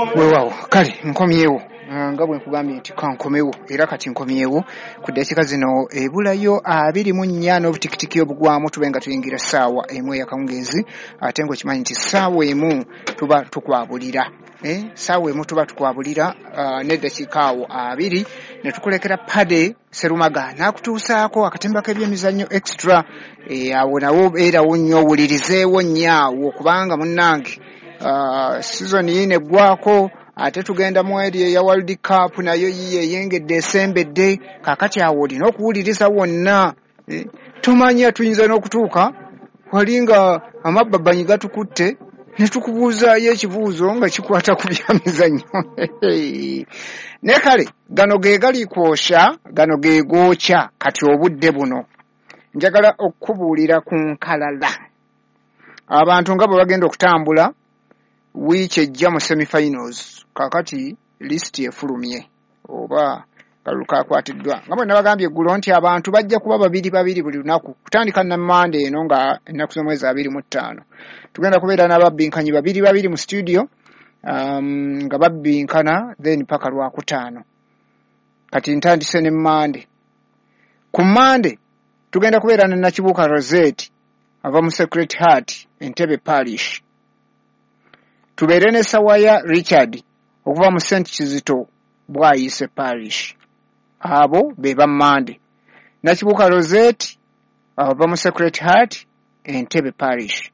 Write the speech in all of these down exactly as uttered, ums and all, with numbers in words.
Weewaawo, kale nkomyewo nga bwe nkugambye nti kankomewo, era kati nkomyewo ku ddakiika zino ebulayo abiri mu nnya n'obutikitiki obugwamu tube nga tuyingira ssaawa emu ey'akawungeezi, ate ng'okimanyi nti ssaawa emu tuba tukwabulira, eh, ssaawa emu tuba tukwabulira uh, n'eddakiika awo abiri ne tukulekera Pade Serumaga n'akutuusaako akatemba k'ebyemizannyo extra. Eh, awo nawo beerawo nnyo, owulirizeewo nnyo awo, kubanga munnange uh, sizoni yiino eggwako, ate tugenda mu eri eya World Cup, nayo yiyo eyengedde esembedde. Kaakati awo olina okuwuliriza wonna, eh, tumanya tuyinza n'okutuuka wali nga amabbabanyi gatukutte ne tukubuuzaayo ekibuuzo nga kikwata ku byamizannyo. Naye kale gano ge gali kwosha, gano ge gookya. Kati obudde buno njagala okukubuulira ku nkalala abantu nga bwe bagenda okutambula wiiki ejja mu semifinals. Kaakati lisiti efulumye oba kalulu kakwatiddwa, nga bwe nabagambye eggulo nti abantu bajja kuba babiri babiri buli lunaku kutandika na Mande eno nga ennaku z'omwezi abiri mu ttaano. Tugenda kubeera n'ababbinkanyi babiri babiri mu studio, um, nga babbinkana then paka Lwakutaano. Kati ntandise ne Mande. Ku Mande tugenda kubeera ne Nakibuuka Rosette ava mu Sacred Heart Entebbe Parish, tubeere ne Sawaya Richard okuva mu Saint Kizito Bwayise Parish. Abo be ba Mande. Nakibuuka Rosette ava mu Sacred Heart Entebbe Parish.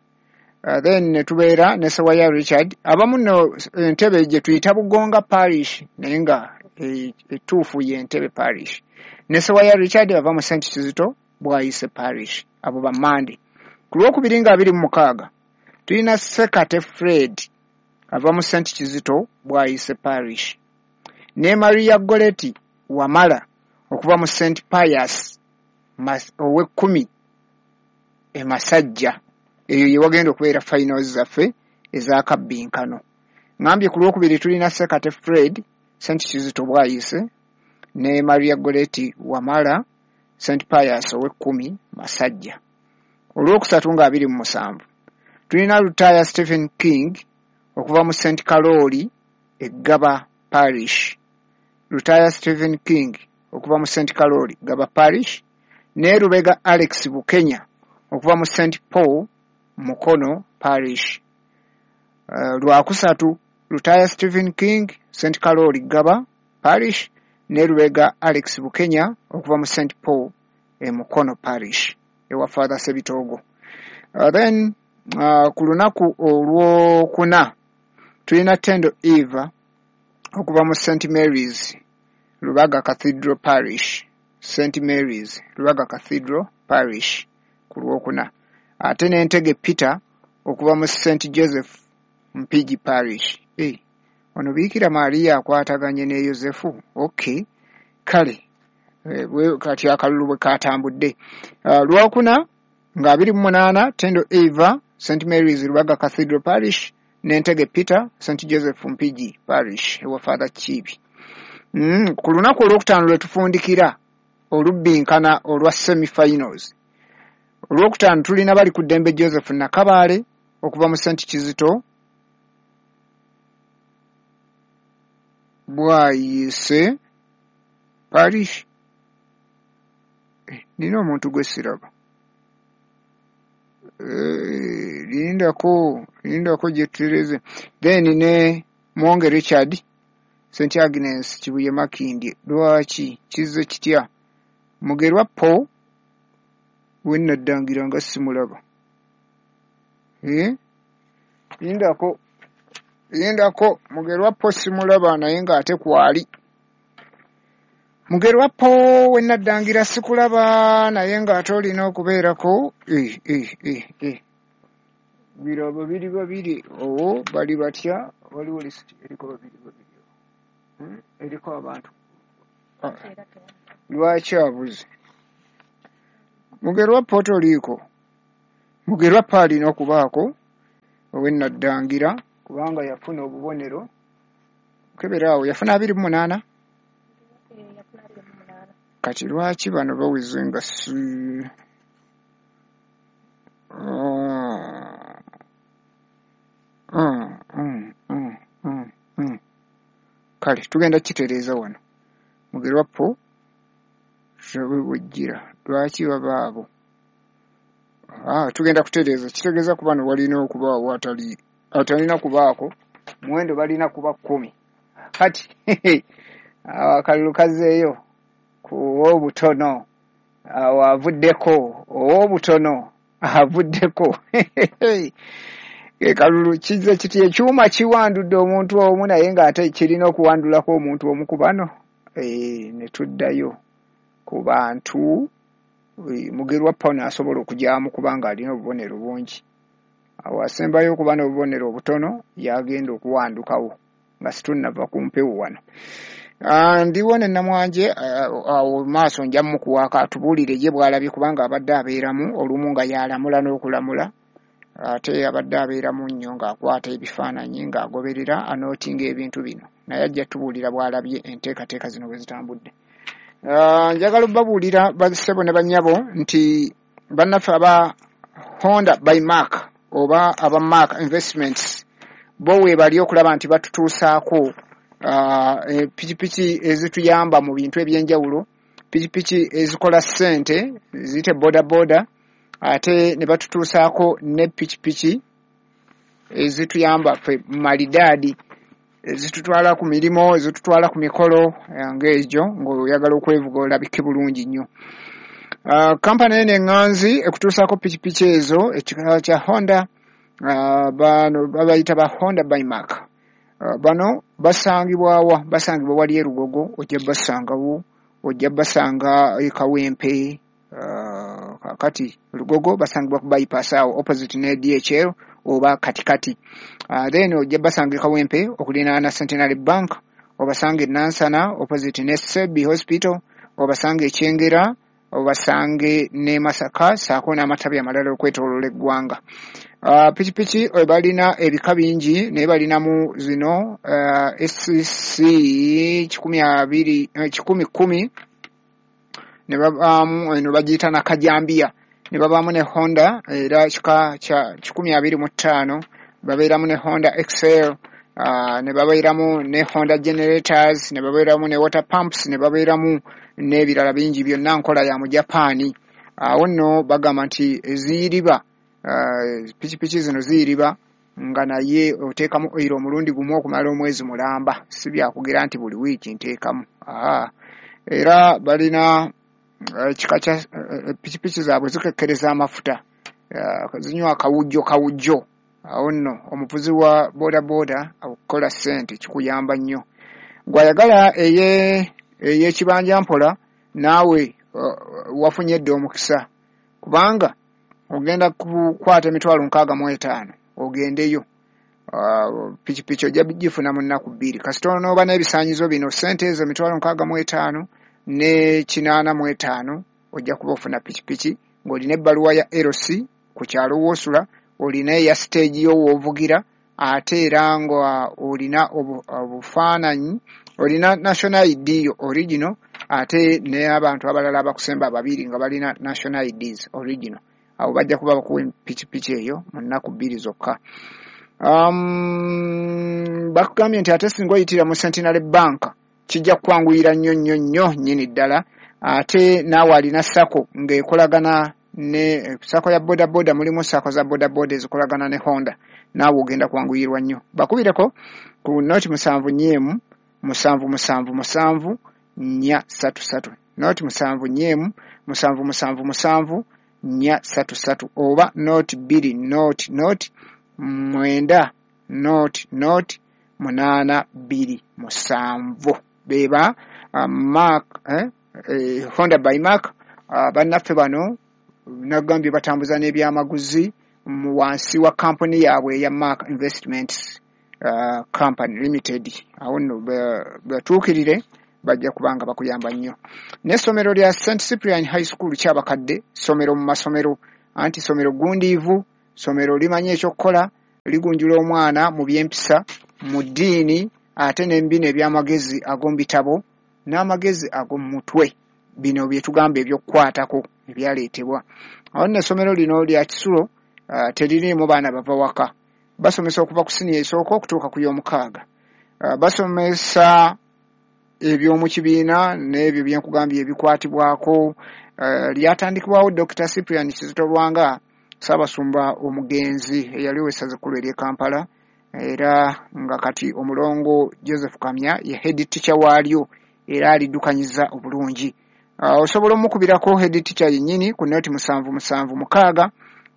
Uh, then ne tubeera ne Sawaya Richard abamu nno Entebbe gye tuyita Bugonga Parish, naye nga ettuufu ye Entebbe Parish. Ne Sawaya Richard ava mu Saint Kizito Bwayise Parish. Abo ba Mande. Ku Lwokubiri nga abiri mu mukaaga tulina Sekate Fred ava mu Saint Kizito Bwayise Parish, ne Maria Goretti Wamala okuva mu Saint Pius ow'ekkumi e Masajja. Eyo ye wagenda okubeera finals zaffe ez'akabbinkano. Ngambye ku Lwokubiri tulina Sekate Fred Saint Kizito Bwayise ne Maria Goretti Wamala Saint Pius ow'ekkumi Masajja. Olwokusatu nga abiri mu musanvu tulina Lutaya Stephen King okuva mu Saint Karoli e Gaba Parish. Lutaya Stephen King okuva mu Saint Karoli Gaba Parish, ne Lubega Alex Bukenya okuva mu Saint Paul Mukono Parish. Uh, Lwakusatu Lutaya Stephen King Saint Karoli Gaba Parish ne Lubega Alex Bukenya okuva mu Saint Paul e Mukono Parish ewa Father Sebitogo. Uh, then uh, ku lunaku olwokuna tulina Tendo Eva okuva mu Saint Mary's Lubaga Cathedral Parish. Saint Mary's Lubaga Cathedral Parish ku lwokuna. Ate n'Entege Peter okuva mu Saint Joseph Mpigi Parish. Eh, ono Biikira Maria akwataganye ne Yosefu. Okay, kale eh, kati akalulu bwe katambudde. Uh, Lwokuna nga abiri mu munaana Tendo Eva Saint Mary's Lubaga Cathedral Parish n'Entege Peter Saint Joseph Mpigi Parish ewa Father Kiibi. Mm, ku lunaku olwokutaano lwe tufundikira olubbinkana olwa semifinals. Olwokutaano tulina bali ku ddembe Joseph Nakabaale okuva mu Saint Kizito Bwayise Parish. Eh, nina omuntu gwe siraba. Eh, lindako lindako gye tutereze. Then ne Mwonge Richard Saint Agnes Kibuye Makindye. Lwaki kizze kitya? Mugerwa Paul we nnaddangira nga simulaba. Eh? Lindako lindako Mugerwa Paul simulaba naye ng'ate kwali. Mugerwa Paul we nnaddangira sikulaba naye ng'ate olina okubeerako. Eh, eh, eh, eh. Biro babiri babiri owo bali batya? Waliwo lisiti eriko babiri babiri. Hmm? Eriko abantu. Ah. Lwaki abuze? Mugerwa Paul toliiko. Mugerwa Paul alina okubaako ow'ennaddangira kubanga yafuna obubonero. Kebera awo yafuna abiri mu munaana. Kati lwaki bano baweze nga si mm, mm, mm, mm, mm. Kale tugenda kitereeza wano. Mugerwa Paul bujjira lwaki babaabo? Ah, tugenda kutereeza. Kitegeeza ku bano walina okubaawo atali atalina kubaako muwendo, balina kuba kkumi. Kati akalulu kazzeeyo ku ow'obutono, awo avuddeko ow'obutono avuddeko. Kalulu kizze kiti, ekyuma kiwandudde omuntu omu, naye ng'ate kirina okuwandulako omuntu omu ku bano. E, ne tuddayo ku bantu. Mugerwa Paul asobola okugyamu kubanga alina obubonero bungi. Awo asembayo okuba n'obubonero obutono yagenda okuwandukawo nga situnnava ku mpewo wano. Ndiwo ne Namwanje awo maaso, nja mukuwaako atubuulire ye bw'alabye, kubanga abadde abeeramu olumu nga yalamula n'okulamula, ate abadde abeeramu nnyo ng'akwata ebifaananyi, ng'agoberera anootinga ebintu bino, naye ajja tubuulira bw'alabye enteekateeka zino bwe zitambudde. Njagala obbabuulira bassebo ne bannyabo nti bannaffe aba Honda by Mark oba aba Mark Investments bo weebali okulaba nti batutuusaako pikipiki ezituyamba mu bintu ebyenjawulo, pikipiki ezikola ssente ziyite boda boda, ate ne batutuusaako ne pikipiki ezituyamba ffe malidaadi, ezitutwala ku mirimu, ezitutwala ku mikolo ng'egyo ng'oyagala okwevuga olabike bulungi nnyo. Kampani eno eŋŋanzi ekutuusaako pikipiki ezo ekika kya Honda, bano babayita ba Honda by Mark. Bano basangibwawa? Basangibwa wali e Lugogo, ojja basangawo, ojja basanga e Kawempe. Kakati Lugogo basangibwa ku bypass awo opposite ne D H L oba katikati. Then ojja basanga e Kawempe okulinaana Centenary Bank, obasanga e Nansana opposite ne Sebi Hospital, obasanga e Kyengera, obasange ne Masaka, saako n'amatabi amalala okwetooloola eggwanga. Uh, pikipiki balina ebika bingi, naye balinamu zino uh, S C kikumi abiri kikumi kumi, ne babaamu eno bagiyita Nakajambiya, ne babaamu ne Honda era kika kya kikumi abiri mu ttaano, babeeramu ne Honda X L, uh, ne babeeramu ne Honda generators, ne babeeramu ne water pumps, ne babeeramu n'ebirala bingi, byonna nkola ya mu Japaani. Awo nno bagamba nti ziyiriba, pikipiki zino ziyiriba nga naye oteekamu oil omulundi gumu okumala omwezi mulamba, si byakugira nti buli wiiki nteekamu. Era balina ekika kya pikipiki zaabwe zikekkereza amafuta, zinywa akawujjo kawujjo. Awo nno omuvuzi wa boda boda okukola ssente kikuyamba nnyo. Gw'ayagala eye ey'ekibanja mpola, naawe wafunye dda omukisa, kubanga ogenda kukwata emitwalo nkaaga mu etaano ogendeyo. Pikipiki ojja gifuna mu nnaku bbiri kasita onooba n'ebisaanyizo bino. Ssente ezo emitwalo nkaaga mu etaano ne kinaana mu etaano ojja kuba ofuna pikipiki ng'olina ebbaluwa ya L C ku kyalo w'osula, olina eya stage yo w'ovugira, ate era nga olina obufaananyi, olina national I D yo original, ate n'abantu abalala abakusemba babiri nga balina national I Ds original. Abo bajja kuba bakuwa pikipiki eyo mu nnaku bbiri zokka. Um, bakugambye nti ate singa oyitira mu Centenary Bank kijja kukwanguyira nnyo nnyo nnyo nnyini ddala. Ate naawe alina SACCO ng'ekolagana ne SACCO ya boda boda, mulimu SACCO za boda boda ezikolagana ne Honda, naawe ogenda kwanguyirwa nnyo. Bakubireko ku noti musanvu nnya emu musanvu musanvu musanvu nnya ssatu ssatu, noti musanvu nnya emu musanvu musanvu musanvu nnya ssatu ssatu, oba noti bbiri noti noti mwenda noti noti munaana bbiri musanvu. Beba uh, Mark eh, eh, Honda by Mark. uh, bannaffe bano nagambye batambuza n'ebyamaguzi mu wansi wa kampuni yaabwe eya Mark Investments uh, Company Limited. Awo nno batuukirire, bajja kubanga bakuyamba nnyo. N'essomero lya Saint Cyprian High School Kyabakadde, ssomero mu masomero, anti ssomero gundiivu, ssomero limanyi ekyokukola, ligunjula omwana mu by'empisa, mu ddiini, ate n'embino eby'amagezi ag'omu bitabo n'amagezi ag'omu mutwe. Bino bye tugamba ebyokukwatako ebyaleetebwa. Awo nno essomero lino lya kisulo, uh, teririimu baana bava waka. Basomesa okuva ku siniya esooka okutuuka ku y'omukaaga. Uh, basomesa eby'omu kibiina n'ebyo byenkugambye ebikwatibwako. Uh, lyatandikibwawo Doctor Cyprian Kizito Lwanga, Ssaabasumba omugenzi eyali ow'essaza ekkulu ery'e Kampala, era nga kati omulongo Joseph Kamya ye head teacher waalyo era aliddukanyiza obulungi. Uh, osobola omukubirako head teacher yennyini ku noti musanvu musanvu mukaaga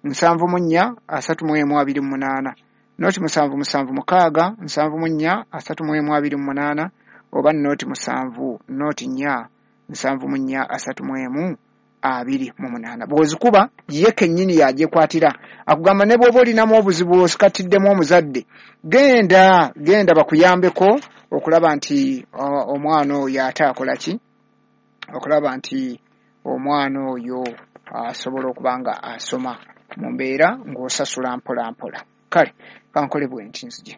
nsanvu mu nnya asatu mu emu abiri mu munaana, noti musanvu musanvu mukaaga nsanvu mu nnya asatu mu emu abiri mu munaana, oba noti musanvu noti nnya nsanvu mu nnya asatu mu emu abiri mu munaana. Bw'ozikuba ye kennyini y'agyekwatira, akugamba ne bw'oba olinamu obuzibu osikatiddemu omuzadde, genda genda bakuyambeko okulaba nti omwana oyo ate akola ki, okulaba nti omwana oyo asobola okuba nga asoma mu mbeera ng'osasula mpola mpola. Kale kankole bwe nti nzije.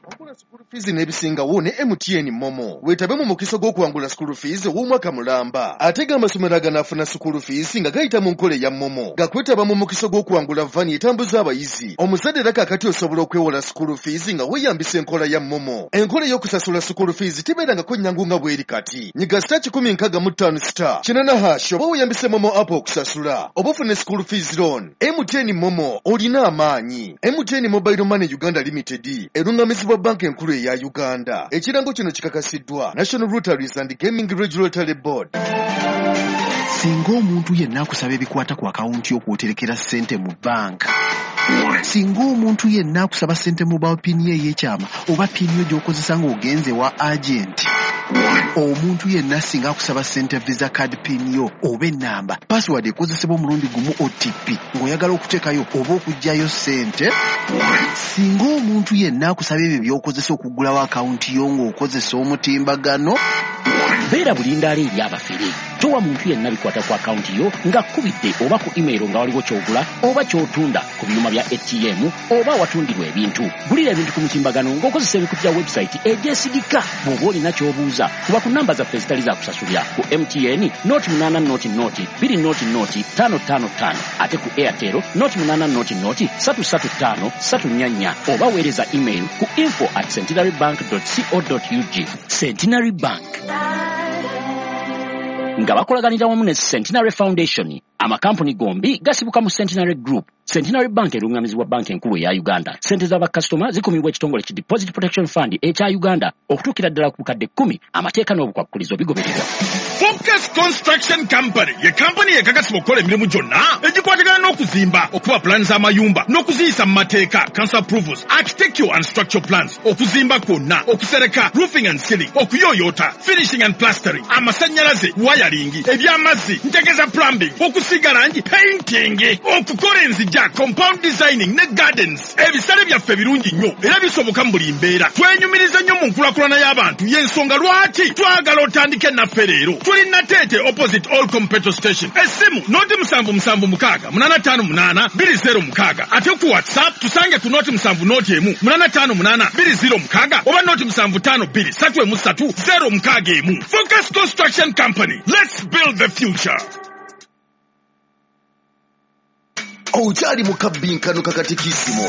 Wangula school fees n'ebisingawo ne M T N Momo. Weetabe mu mukisa gw'okuwangula school fees ow'omwaka mulamba. Ate g'amasomero aganaafuna school fees nga gayita mu nkola eya Momo. Gakwetaba mu mukisa gw'okuwangula vani etambuza abayizi. Omuzadde era kaakati osobola okwewola school fees nga weeyambisa enkola ya Momo. Enkola ey'okusasula school fees tebeerangako nnyangu nga bw'eri kati. Nyiga star kikumi nkaaga mu ttaano star kinaana hash oba weeyambise Momo app okusasula. Oba ofune school fees loan. M T N Momo olina amaanyi. M T N Mobile Money Uganda Limited erungamizibwa Banka Enkulu eya Uganda. Ekirango kino kikakasiddwa National Lotteries and Gaming Regulatory Board. Singa omuntu yenna akusaba ebikwata ku akawunti y'okwoterekera ssente mu banka, singa omuntu yenna akusaba ssente mobile pin ye ey'ekyama oba pin yo gy'okozesa ng'ogenze wa agent, omuntu yenna singa akusaba ssente visa card pin yo oba ennamba, password ekozesebwa omulundi gumu O T P ng'oyagala okuteekayo oba okuggyayo ssente, singa omuntu yenna akusaba ebyo by'okozesa okuggulawo akawunti yo ng'okozesa omutimbagano, beera bulindaala eri abafere. Towa muntu yenna bikwata ku akawunti yo ng'akubidde oba ku email nga waliwo ky'ogula oba ky'otunda ku byuma bya A T M oba awatundirwa ebintu. Gulira ebintu ku mutimbagano ng'okozesa ebikutu bya website egyesigika. Bw'oba olina ky'obuuza, kuba ku namba zaffe ezitali za kusasulira ku M T N noti munaana noti noti bbiri noti noti ttaano ttaano ttaano, ate ku Airtel noti munaana noti noti ssatu ssatu ttaano ssatu nnya nnya, oba weereza email ku info at centenary bank dot co dot ug. Centenary Bank nga bakolaganira wamu ne Centenary Foundation. Amakampuni gombi gasibuka mu Centenary Group. Centenary Bank erungamizibwa Banka Enkulu eya Uganda. Ssente z'abakasitoma zikumibwa ekitongole ki Deposit Protection Fund ekya Uganda okutuukira ddala ku bukadde kkumi. Amateeka n'obukwakkulizo bigobererwa. Focus Construction Company ye kampani ekakasibwa okukola emirimu gyonna egikwatagana n'okuzimba, okuba pulaani z'amayumba n'okuziyisa mu mateeka, council approvals, architectural and structural plans, okuzimba kwonna, okusereka, roofing and ceiling, okuyooyoota, finishing and plastering, amasannyalaze, wiring, eby'amazzi, ntegeeza plumbing, okusiiga langi, painting, okukola enzigya, compound designing ne gardens. Ebisale byaffe birungi nnyo era bisoboka mu buli mbeera. Twenyumiriza nnyo mu nkulaakulana y'abantu, y'ensonga lwaki twagala otandike naffe leero. Tuli Nateete opposite all petrol station. Essimu noti musanvu musanvu mukaaga munaana ttaano munaana bbiri zero mukaaga, ate ku WhatsApp tusange ku noti musanvu noti emu munaana ttaano munaana bbiri zero mukaaga oba noti musanvu ttaano bbiri ssatu emu ssatu zero mukaaga emu. Focus Construction Company, let's build the future. Okyali mu kabbinkano kakatikisimu.